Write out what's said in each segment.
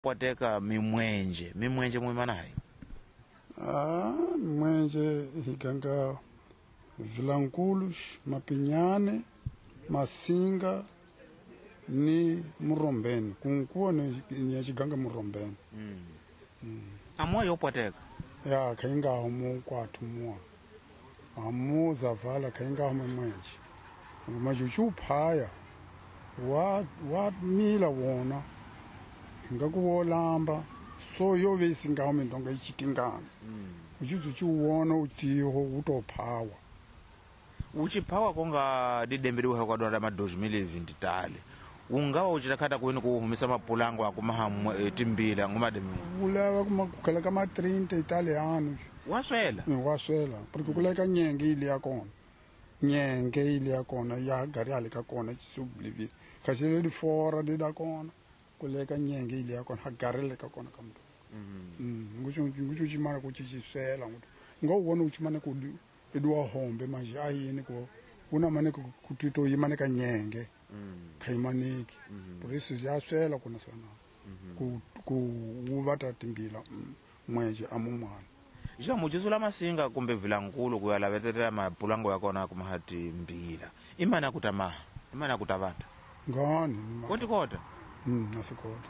Poteka mimwenje mimwenje mwimanayi. Ah, mwenje higanga Vilankulos, Mapinyane, Masinga ni Murombeni. Kunkuwa ni nyachiganga Murombeni. Amoyo yopoteka. Ya kainga homu kwatu mua. Amu zavala kainga homu mwenje. Majuchu phaya wa mila wona ngakuwolamba so yo vesinga mindonga ichitingana. Uchizu chiwona utiho utophawa. Uchiphawa konga didemberiwa kwa dwara ma 2023. Ungawa uchitakata kuini kuhumisa mapulango akumaha timbila ngumademi. Ulava kuma kama 30 italiano. Waswela. Waswela porque kuleka nyenge ile yakona. Nyenge ile yakona ya gari alika kona chisublivi. Kashile di fora di da kona. Kuleka nyenge ile yakona ha gari leka kona kamntu. Ngucho chimana kuchichiswela nguto. Ngawona uchimana kudi edwa hombe manje ayini ko una mane kutito yimane ka nyenge. Khaimaniki. Polisi yaswela kuna sana. Ku uvata timbila mwenje amumwana. Ja mujizula Masinga kumbe Vilankulo kuyalavetetela mapulango yakona kumahati mbila. Imana kutamaha, imana kutavata. Ngani? Koti kota. Nasikota.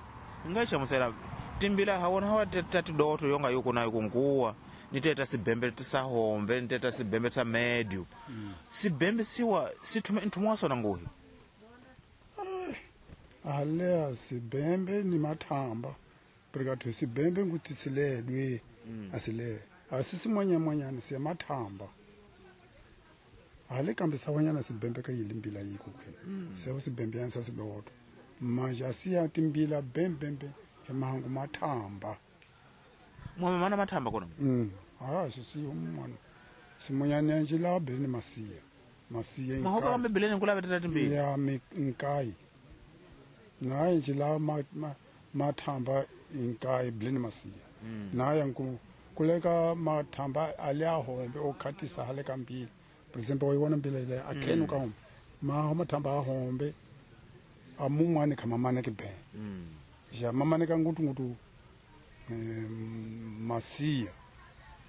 Ngacha musela timbila hawona hawa tati doto yonga yuko nayo kunkuwa. Niteta sibembe tisahombe, niteta sibembe sa medio. Sibembe siwa situme ntumwa sona nguhi. Alea sibembe ni matamba. Porque sibembe ngutisiledwe asile. Asisi mwanya mwanya ni siya matamba. Ale kambe sawanyana sibembe ka yilimbila yiko ke. Siya sibembe yansa sidoto. Manje asiya timbila bembembe emahangu matamba. Mwa mana matamba kona. Ah sisi umwana. Simonyana njila bele ni masiya. Masiya inkai. Mahoka kambe bele ni kula betata timbila. Ya inkai. Na njila matamba inkai bele ni masiya. Na yanku kuleka matamba aliahombe okhatisa hale kambili. For example, oyiwona mbila ile akhenu ka hombe. Ma matamba ahombe amumwane kama mane ke be. Ja mamane ka ngutu ngutu masiya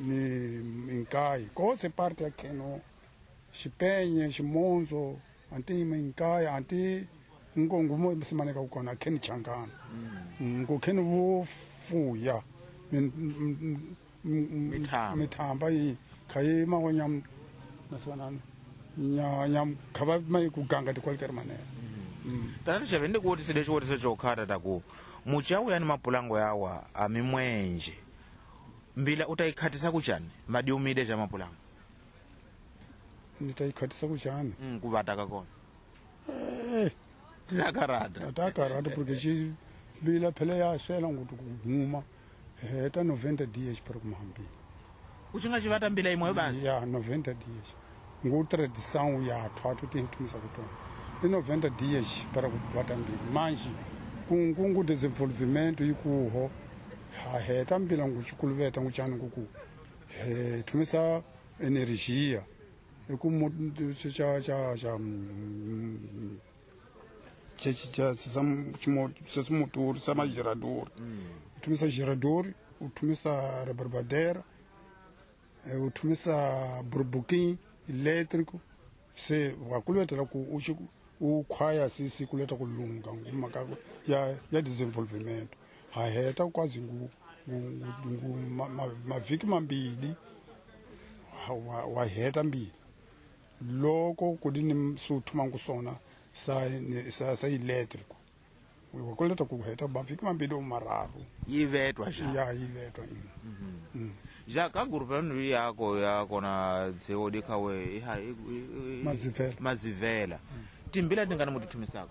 ni inkai kose parte akheno xipenye ximonzo anti inkai anti ngongumo simane ka kona akheni changana. Ngokheni vofuya mithamba yi khaye mawanyam naswanana nya khaba mai kuganga tikwalker manene. Tata xavende kuti sidecho kuti sechokhata taku muchawu yani mapulango yawa amimwenje mbila utaikhatisa kuchani madiumide cha mapulango. Nitaikhatisa kuchani kuvata kakona tinakarata atakarata porque chi mbila phele ya swela ngutu kuguma heta 90 dias para kumhambila. Uchinga chivata mbila imwe basi ya 90 dias ngu tradição ya thwathu tintumisa kutona i 90 dias para kuvata mbila manje kungu desenvolvimento ikuho ha heta mbila nguchikuluveta nguchani nguku he tumisa energia ekumo cha cha cha cha cha motor sama gerador. Utumisa gerador, utumisa rebarbadeira, utumisa burbuquim elétrico, se wakuleta ku uchiku ukhwaya sisi kuleta kulunga ngumaka ya desenvolvimento. Ha heta kwazi ngu mavhiki mambili wa heta mbili. Loko kudini suthuma ngusona sa elétrico. Wakuleta kuheta mavhiki mambili omararu. Yivetwa ja. Ya yivetwa. Ja ka grupu yako yakona tseodi khawe iha mazivela. Mazivela. Timbila tingana mutithumisako.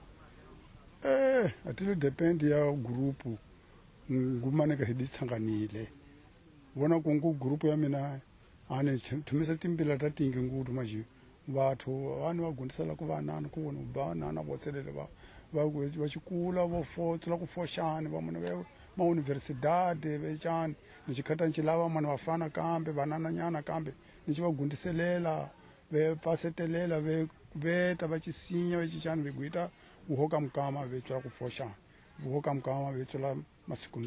Atile depend ya grupu ngumaneka hiditsanganile. Vona kungu grupu ya mina ane thumisa timbila ta tingi ngutu manje vathu vanu vagundisela ku vanana ku vona banana votselele va va xikula vo fotsela ku foxani va mune va ma universidade vechani ni xikhata nci lava mune vafana kambe vanananyana kambe ni xi va gundiselela ve pasetelela ve veta va chisinya va chichani ve guita uhoka mukama ve tswela ku foxani uhoka mukama ve tswela Masiku.